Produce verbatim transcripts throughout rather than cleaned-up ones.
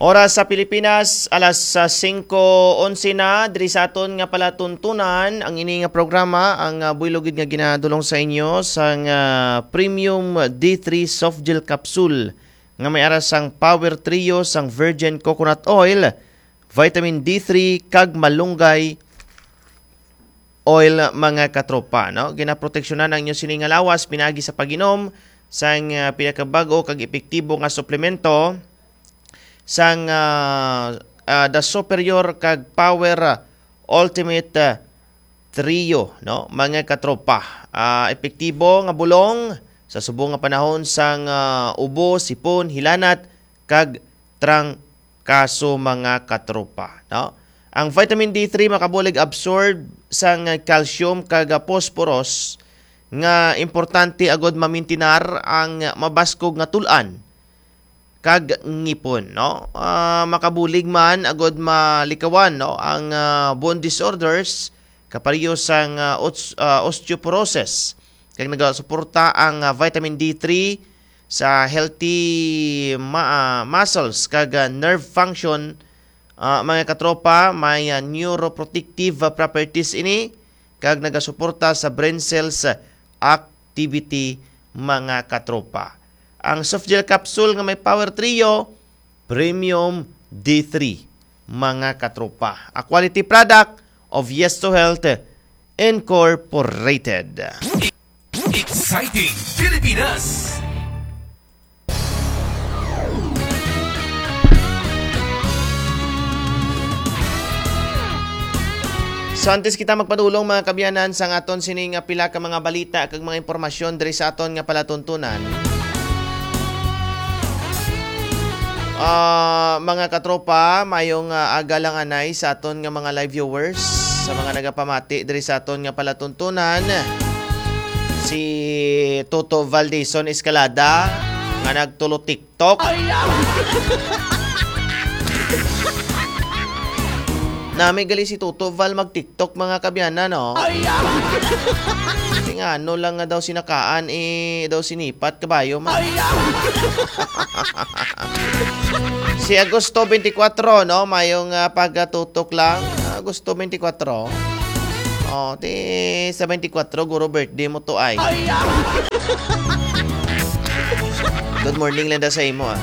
Oras sa Pilipinas, alas, ah, singko onse na. Diri sa aton nga palatuntunan, ang ini nga programa, ang, ah, buylog gid nga ginadulong sa inyo sang, ah, Premium D three Soft Gel Capsule nga may ara sang Power Trio sang Virgin Coconut Oil, Vitamin D three, kag Malunggay Oil, mga katropa, no? Ginaproteksyonan ang inyo sini nga lawas pinagi sa pag-inom sang, ah, pinakabag-o kag epektibo nga suplemento sang, ah, ah, The Superior kag Power, ah, Ultimate, ah, Trio, no? Mga katropa, ah, epektibo nga bulong sa subong nga panahon sang, ah, ubo, sipon, hilanat, kag trangkaso, mga katropa, no? Ang vitamin D three makabulig absorb sang calcium kag phosphorus nga importante agud mamintinar ang mabaskog nga tul-an kag ngipon, no? Ah, makabulig man agud malikawan, no, ang, ah, bone disorders kapareho sang, ah, os-, ah, osteoporosis. Kag nagasuporta ang, ah, vitamin D three sa healthy ma-, ah, muscles kag, ah, nerve function, ah, mga katropa, may, ah, neuroprotective, ah, properties ini kag nagasuporta sa brain cells, ah, activity, mga katropa. Ang soft gel capsule nga may Power Trio, Premium D three, mga katropa. A quality product of Yes to Health Incorporated. Exciting Pilipinas! So, antes kita magpadulong, mga kabyanan, sa aton sini nga pila ka mga balita kag mga impormasyon diri sa aton nga palatuntunan, ah, mga katropa, mayong, ah, aga lang anay sa aton nga mga live viewers, sa mga nagapamati diri sa aton nga palatuntunan. Si Toto Valdison Escalada nga nagtulo TikTok. Ay, ah! Nami gali si Toto Val mag-TikTok, mga kabyanan, no? Ay, ah! Tingano lang nga daw sinakaan, eh, daw sinipat kabayo man. Ay, ah! Si Agosto twenty-four, no? Mayong, ah, pagatutok lang. Agosto twenty-four. Oh, ti sa twenty-four, guro, birthday mo to ay. Ay, ah! Good morning lang da sa imo, ah.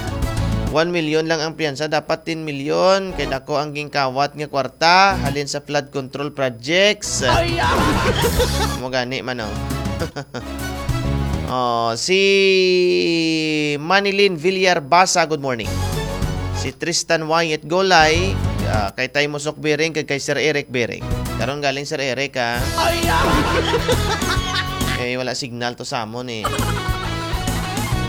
One million lang ang piyansa, dapat ten million. Kay dako ang gingkawat nga kwarta halin sa flood control projects. Ay, ah! Mo gani man, oh. Oh, si Manilyn Villar Basa, good morning. Si Tristan Wyatt Golay, ah, kay Tay Musok Biring, kag kay Sir Eric Biring. Karon galing Sir Eric, ha? Ay, ah! Eh, wala signal to sa amon, eh.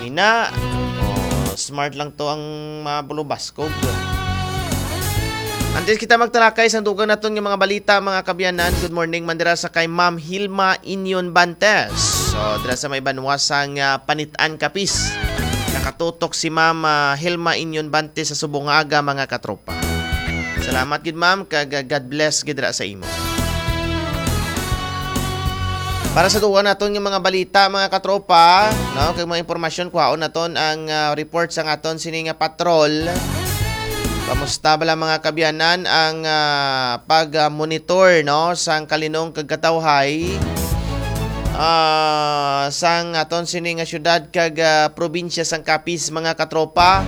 Ina, oh, smart lang to ang mga bulubaskog. Antes kita magtalakay sa dugang naton nga mga balita, mga kabyanan, good morning man dira sa kay Ma'am Hilma Inyon Bantes. So, dira sa may banwa sang, ah, Panitan, Capiz. Nakatutok si Ma'am, ah, Hilma Inyon Bantes sa subong nga aga, mga katropa. Salamat gid, ma'am, kag, ah, God bless gid ra sa imo. Para sa dugang naton nga mga balita, mga katropa, no, kag mga impormasyon, kuhaon naton ang, ah, report sang aton sini nga patrol. Kamusta bala, mga kabyanan, ang, ah, pag-monitor, no, sang kalinong kag katawhay, ah, sang aton sini nga syudad kag, ah, probinsya sang Capiz, mga katropa?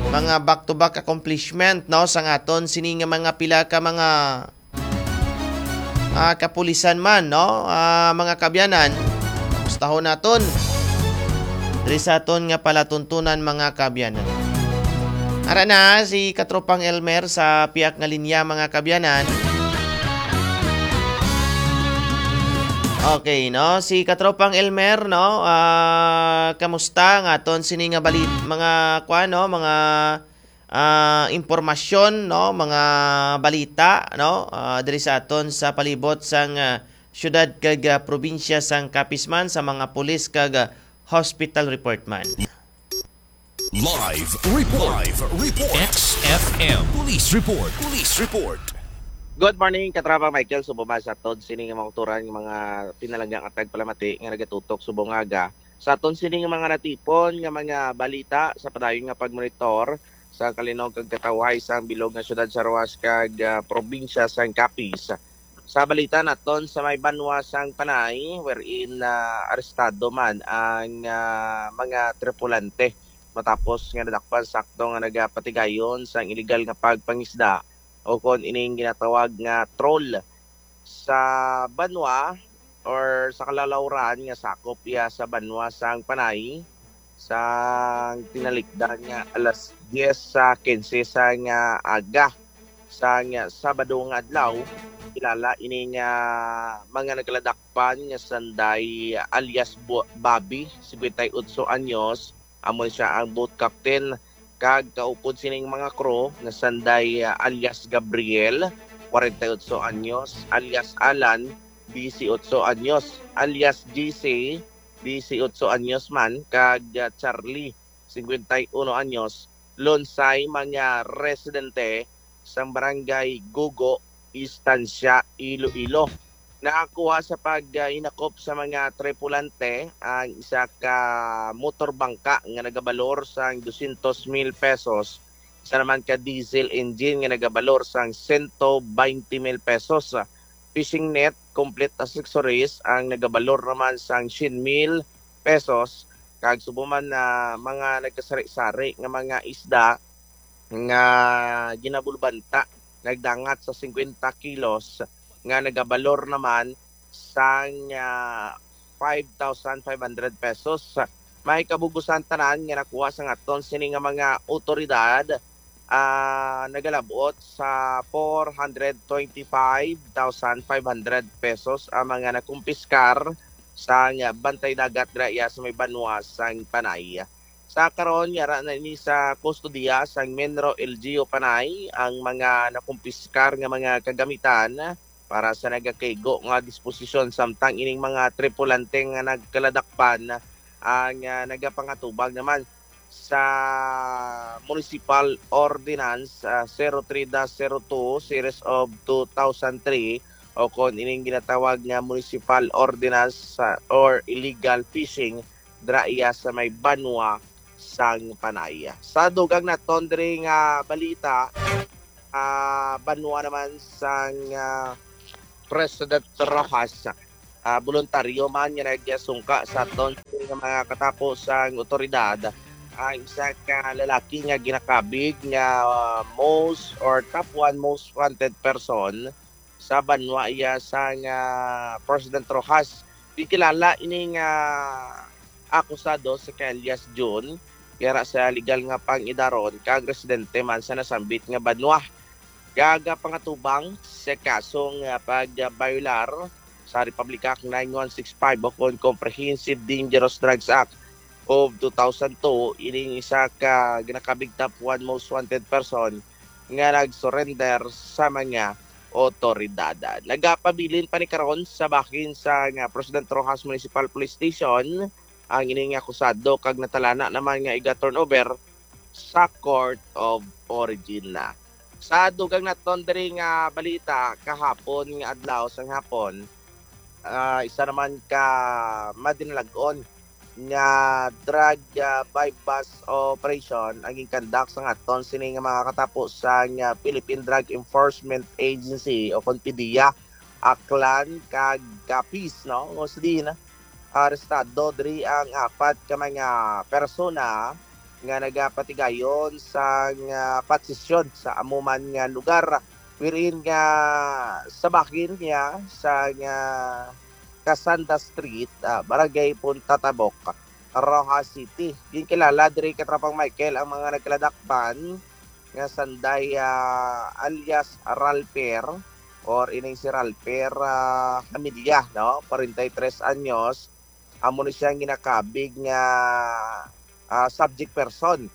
Mga back-to-back accomplishment, no, sang aton sini nga mga pila ka mga, ah, kapulisan man, no, ah, mga kabyanan. Mustahon naton diri sa aton nga palatuntunan, mga kabyanan. Ara na si Katropang Elmer sa piyak nga linya, mga kabyanan. Okay, no? Si Katropang Elmer, no? Ah, kamusta nga aton sini nga balit, mga, kwa, no? Mga, ah, impormasyon, no? Mga balita, no? Ah, diri sa aton sa palibot sang, ah, syudad kag, ah, probinsya sang Capiz man, sa mga pulis kag, ah, hospital report man. Live report. Live report. X F M Police Report. Police Report. Good morning, Katropa Michael. Subong man sa aton sini nga mga kulturan, nga mga pinalangga nga tagpalamati nga nagatutok subong nga aga. Sa aton sini nga mga natipon nga mga balita sa padayon nga pagmonitor, sa kalinog kag katawhay sang bilog nga siyudad sa Roxas kag, ah, probinsya sang Capiz. Sa balita naton sa may banwa sang Panay, wherein, ah, arestado man ang, ah, mga tripulante matapos nga nadakpan sakto nga nagapatigayon sang iligal nga pagpangisda o kon ining ginatawag nga troll sa banwa or sa kalalawran nga sakop iya sa banwa sang Panay, sang tinalikdan nga alas diyes sa kinse sa nga aga sa nga Sabado nga adlaw. Kilala ini nga mga nagkaladakpan nga sanday alias Bo-, Bobby, singkwenta y otso anyos, amo siya ang boat captain, kag kaupod sining mga crew nga sanday, ah, alias Gabriel, kwarenta y otso anyos, alias Alan, disiotso anyos, alias G C, disiotso anyos man, kag, ah, Charlie, singkwenta y uno anyos, lunsay mga residente sang barangay Gugo, Estancia, Iloilo. Nakakuha sa paghinakop sa mga tripulante ang isa ka motor bangka nga nagabalor sang dosyentos mil pesos, isa naman ka diesel engine nga nagabalor sang sento baynte mil pesos, fishing net, complete accessories ang nagabalor naman sang syen mil pesos, kag subong man na mga nagkasari-sari nga mga isda nga ginabulbanta nagdangat sa singkwenta kilos nga nagabalor naman sang, ah, five thousand five hundred pesos. May kabugusan tanan nga nakuha sang aton sini nga mga awtoridad, ah, nagalabot sa four hundred twenty-five thousand five hundred pesos ang mga nakumpiskar sang bantay dagat dira iya sa may banwa sang Panay. Sa karon, yara na ini sa kustodiya sang Menro L G U Panay ang mga nakumpiskar nga mga kagamitan para sa nagakaigo nga disposisyon, samtang ining mga tripulante nga nagkaladakpan ang, ah, nagapangatubang naman sa Municipal Ordinance, ah, zero three dash zero two series of two thousand three, o kon ining ginatawag nga Municipal Ordinance, ah, or illegal fishing dira iya sa may banwa sang Panay. Sa dugang naton diri nga balita, ah, banwa naman sang, ah, President Roxas, ah, boluntaryo man nga nagsungka sa aton nga mga katapo sang otoridad ang isa ka lalaki nga ginakabig nga, ah, most or top one most wanted person sa banwa iya sang President Roxas. Gikilala ini nga akusado si alias Jun, yara sa legal nga pang-idaron kag residente man sa nasambit nga banwa. Gagapangatubang sa kaso nga pagbayolar sa Republic Act nine one six five o kon Comprehensive Dangerous Drugs Act of two thousand two, ining isa ka ginakabig top one most wanted person nga nag-surrender sa mga otoridad. Nagapabilin pa ni karon sa bahin sa nga President Roxas Municipal Police Station ang ining akusado kag natalana naman nga iga-turnover sa Court of Origin na. Sa dugang naton diri nga balita, kahapon nga adlaw sang hapon, ah, isa naman ka madinalag-on nga drug, ah, buy-bust operation ang ginkandak sang aton sini nga mga katapo sang, ah, Philippine Drug Enforcement Agency o kon PDEA, Aklan kag Capiz, no? Nga sa diin, arestado diri ang apat ka mga persona nga nagapatigayon sang posisyon sa amo man nga lugar, wherein nga sa bahin niya sa nga Casanda Street, ah, Barangay Punta Tabok, Roxas City. Ginkilala diri, Katropang Michael, ang mga nagkaladakpan nga sanday, ah, alias Ralper or ining si Ralper, ah, Hamilya, no? Kwarenta y tres anyos, amo ni siya ang ginakabig nga, ah, subject person.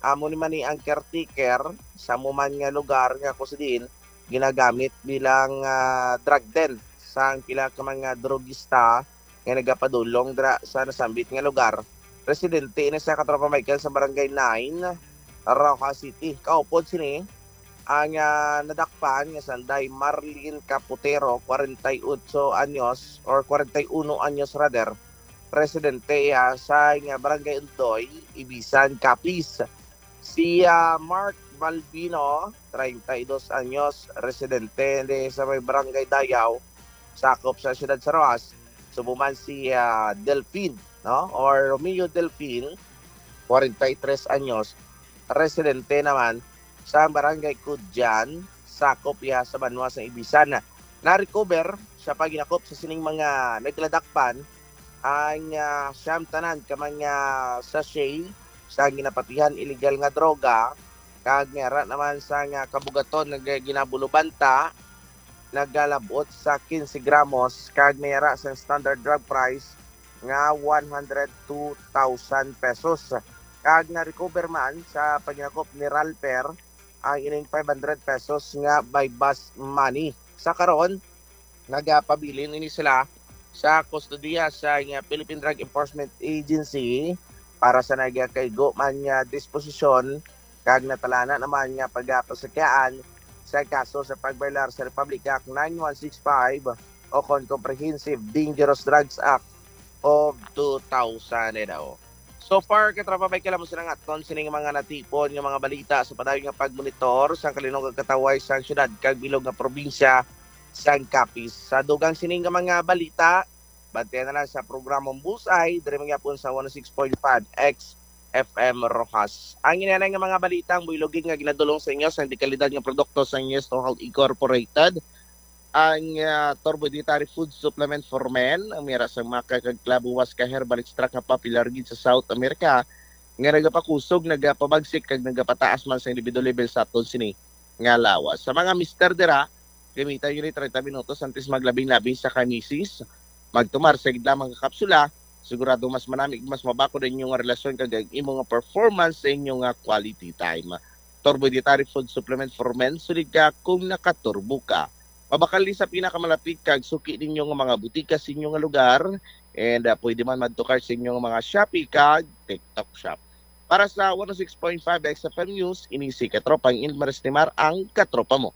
Amo ni man ni ang caretaker sa amo man nga lugar nga kung sa diin ginagamit bilang, ah, drug den sang pila ka mga drogista nga nagapadulong dira sa nasambit nga lugar. Residente ini sa Katropang Michael sa Barangay nine, Roxas City. Kaupod sini ang, ah, nadakpan nga sanday Marlene Caputero, kwarenta y otso anyos or kwarenta y uno anyos rather. Residente iya sa nga Barangay Undoy, Ibisan, Capiz. Si, ah, Mark Balbino, treinta y dos anyos, residente de sa may Barangay Dayaw, sakop sa siyudad sa Roxas. Subong man si, ah, Delfin, no? Or Romeo Delfin, kwarenta y tres anyos, residente naman sa Barangay Cudjan, sakop iya sa banwa sa Ibisan. Na-recover sa paghinakop sa sining mga nagladakpan ang, ah, siyam tanan ka mga sachet sa ginapatihan illegal nga droga, kag may ara naman sa nga kabugaton nga ginabulubanta nagalabot sa quince gramos, kag may ara sa standard drug price nga one hundred two thousand pesos. Kag na-recover man sa paghinakop ni Ralper ang ining five hundred pesos nga buy-bust money. Sa karon, nagapabilin ini sila sa kustodiya sa, nga, Philippine Drug Enforcement Agency para sa nagakaigo man nga disposisyon, kag natalana naman nga pagapasakyaan sa kaso sa pag-violar sa Republic Act nine one six five o kon Comprehensive Dangerous Drugs Act of two thousand. So far, katropa, may kalamusan ang aton sining mga natipon nga mga balita sa padayon nga pagmonitor sang kalinog kag katawhay sang syudad kag bilog nga probinsya sang Capiz. Sa dugang sining nga mga balita, bantayan na lang sa programang Bullseye, diri man gyapon sa one oh six point five X F M Roxas. Ang ina nga mga balita ang buylogin nga ginadulong sa inyo sa dekalidad nga produkto sa Ingesto Health Incorporated, ang, ah, Turbo Dietary Food Supplement for Men, ang mira sa maka kag klabuwas ka herbal extract nga popular gid sa South America, nga nagapakusog, nagapabagsik, kag nagapataas man sa libido level sa aton sini nga lawas. Sa mga mister dira, gamitan nyo ni treinta minutos antes maglabing-labing sa kamisis. Magtumar sa gid lamang ka kapsula, sigurado mas manami, mas mabakod ang inyong relasyon kag ang imo nga performance sa inyo nga quality time. Turbo Dietary Food Supplement for Men, sulit ka kung nakaturbo ka. Mabakal ni sa pinakamalapit kag suki ninyo nga mga butika sa inyo nga lugar, and, ah, pwede man madtukar sa inyo nga mga Shopee kag TikTok Shop. Para sa one oh six point five X F M News, ini si Katropang Ilmaris Timar, ang katropa mo.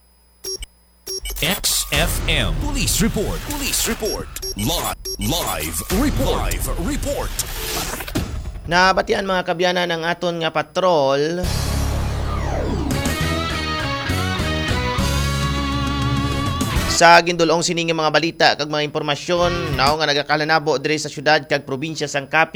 X F M Police Report. Police Report. Li- live Report. Live Report. Nabatian, mga kabyanan, ang aton nga patrol. Sa gindulong sini nga mga balita kag mga impormasyon, no, nga nagakalanabo diri sa syudad kag probinsya sang Capiz,